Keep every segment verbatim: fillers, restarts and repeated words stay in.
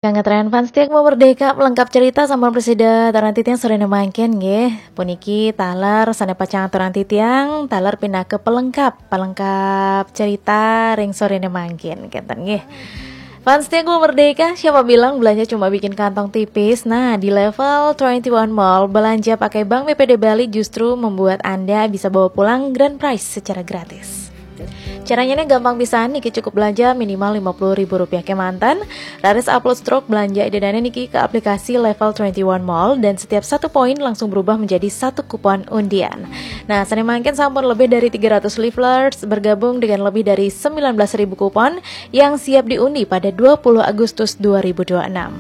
Kang ngetren fans tiang mau merdeka pelengkap cerita sama presida aturan titiang sore mangkin nggih. Puniki taler sane pacang aturan titiang, taler pinaka pelengkap, pelengkap cerita ring sore mangkin kenten nggih. Fans tiang mau merdeka, siapa bilang belanja cuma bikin kantong tipis? Nah, di level twenty one Mall, belanja pakai Bank B P D Bali justru membuat Anda bisa bawa pulang grand prize secara gratis. Caranya nih gampang pisan, niki cukup belanja minimal lima puluh ribu rupiah kemanten, raris upload stroke belanja idadane niki ke aplikasi Level twenty one Mall dan setiap satu poin langsung berubah menjadi satu kupon undian. Nah, sane mangkin sampun lebih dari tiga ratus leaflets bergabung dengan lebih dari sembilan belas ribu kupon yang siap diundi pada dua puluh Agustus dua ribu dua puluh enam.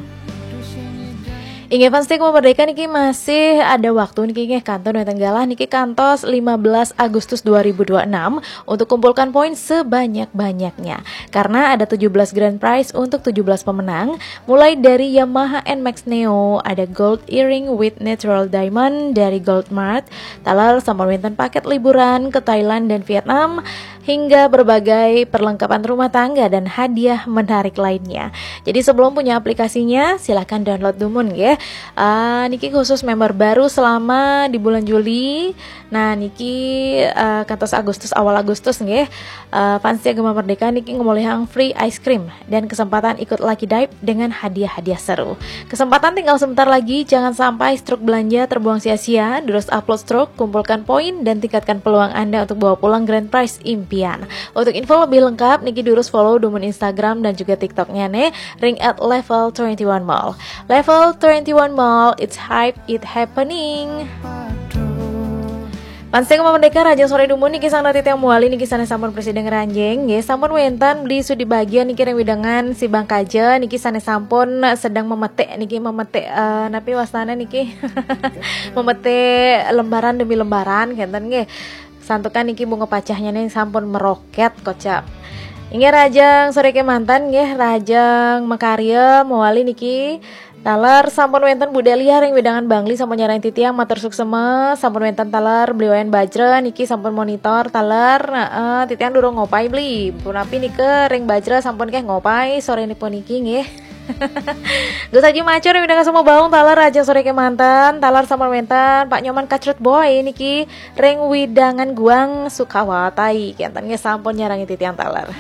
Inggih fans tiang mau merdeka niki masih ada waktu niki nggih kantun wenten galah niki kantos lima belas Agustus dua ribu dua puluh enam untuk kumpulkan poin sebanyak-banyaknya. Karena ada tujuh belas grand prize untuk tujuh belas pemenang, mulai dari Yamaha N max Neo, ada gold earring with natural diamond dari Gold Mart, taler sampun wenten paket liburan ke Thailand dan Vietnam, hingga berbagai perlengkapan rumah tangga dan hadiah menarik lainnya. Jadi sebelum punya aplikasinya, silahkan download dumun nggih. Ah, niki khusus member baru selama di bulan Juli. Nah, niki eh, kantos Agustus, awal Agustus nggih. Eh, fans tiang Gema Merdeka niki ngolihang free ice cream dan kesempatan ikut lucky dive dengan hadiah-hadiah seru. Kesempatan tinggal sebentar lagi, jangan sampai stroke belanja terbuang sia-sia. Terus upload stroke, kumpulkan poin, dan tingkatkan peluang Anda untuk bawa pulang grand prize impian. Untuk info lebih lengkap, niki durus follow dumun Instagram dan juga TikToknya nih, ring at level twenty one mall. Level twenty one Mall, it's hype, it happening. Fans tiang Gema Merdeka, rahajeng sore dumun niki sareng titiang Muali niki sane sampun presida ngranjing nggih, sampun wenten Beli Sudi Bagia niki ring wewidangan Sibang Kaja niki sane sampun sedeng memetik niki memetik eh, napi wastane niki memetik lembaran demi lembaran kenten nggih. Santukan niki bunga pacahnya nih sampun meroket kocap. Inggih rahajeng sore kemanten nggih, rahajeng makarya Muali niki. Taler sampun wenten Bu Delia ring wewidangan Bangli sampun nyarengin titiang matur suksma, sampun wenten taler Beli Wayan Bajra niki sampun monitor taler, heeh, titiang durung ngopai Beli. Punapi nika ring Bajra sampun keh ngopai sore niki puniki nggih. Gus Haji Macur ring wewidangan Sumbawa Baung taler rahajeng sore kemanten, taler sampun wenten Pak Nyoman Kacrut Boy niki ring wewidangan Guang Sukawati kenten nggih sampun nyarengin titiang taler.